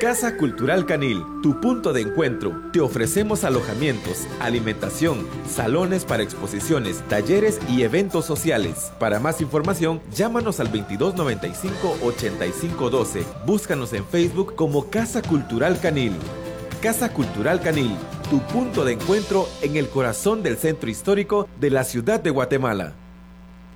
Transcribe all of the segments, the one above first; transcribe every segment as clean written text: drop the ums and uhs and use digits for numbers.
Casa Cultural Canil, tu punto de encuentro. Te ofrecemos alojamientos, alimentación, salones para exposiciones, talleres y eventos sociales. Para más información, llámanos al 2295-8512. Búscanos en Facebook como Casa Cultural Canil. Casa Cultural Canil, tu punto de encuentro en el corazón del centro histórico de la ciudad de Guatemala.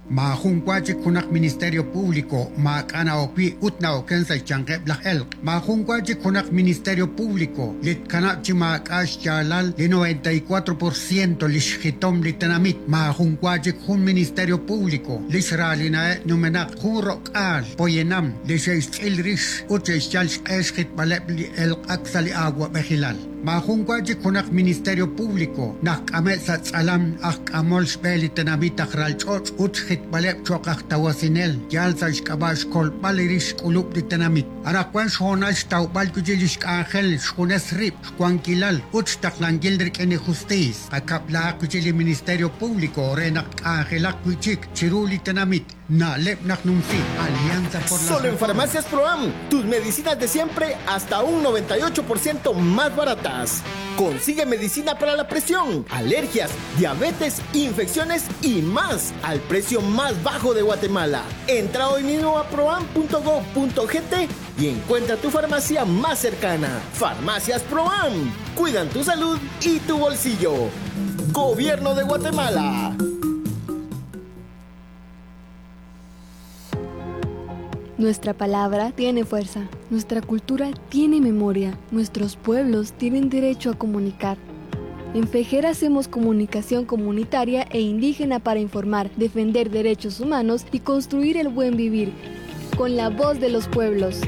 Maajun wa chik junaq Ministerio Público maak'a' na'ok wi' ut na'oken sa' xyanqeb' laj elq'. Maajun wa chik junaq Ministerio Público li tkanab' chi maak'a' xyaalal li 94% li xjitom li tenamit. Maajun wa chik jun Ministerio Público li xraalinaheb' numenaq jun ro'k'aal poyanam li xe'xtz'il rix ut xe'xyal xq'e xjitb'aleb' li elq'ak sa' li awa'b'ejilal. Maajun wa chik junaq Ministerio Público naq k'ame' sa' tz'alam aj k'amol xb'e li tenamit aj ralch'och' ut xjitb'aleb' cho'q aj tawasinel yal sa' xk'ab'a' xkolb'al li rix xk'ulub' li tenamit. Anaqwan xhoonal xtawb'al wi' chik li xk'anjel xjunes rib' xwankilal ut xtaqlankil rik'in li justiis. Qakab'lahaq wi' chik li Ministerio Público re naq tk'anjelaq wi' chik chiru li tenamit. Na'leb' naq numsi Alianza por las Solo en Reformas. Farmacias Proam, tus medicinas de siempre hasta un 98% más baratas. Consigue medicina para la presión, alergias, diabetes, infecciones y más al precio más bajo de Guatemala. Entra hoy mismo a proam.gov.gt y encuentra tu farmacia más cercana. Farmacias Proam, cuidan tu salud y tu bolsillo. Gobierno de Guatemala. Nuestra palabra tiene fuerza, nuestra cultura tiene memoria, nuestros pueblos tienen derecho a comunicar. En Fejera hacemos comunicación comunitaria e indígena para informar, defender derechos humanos y construir el buen vivir, con la voz de los pueblos.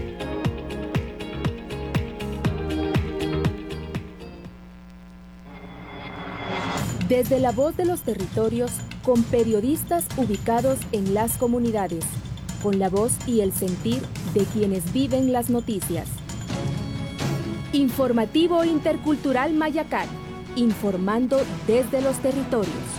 Desde la voz de los territorios, con periodistas ubicados en las comunidades, con la voz y el sentir de quienes viven las noticias. Informativo Intercultural Mayacat, informando desde los territorios.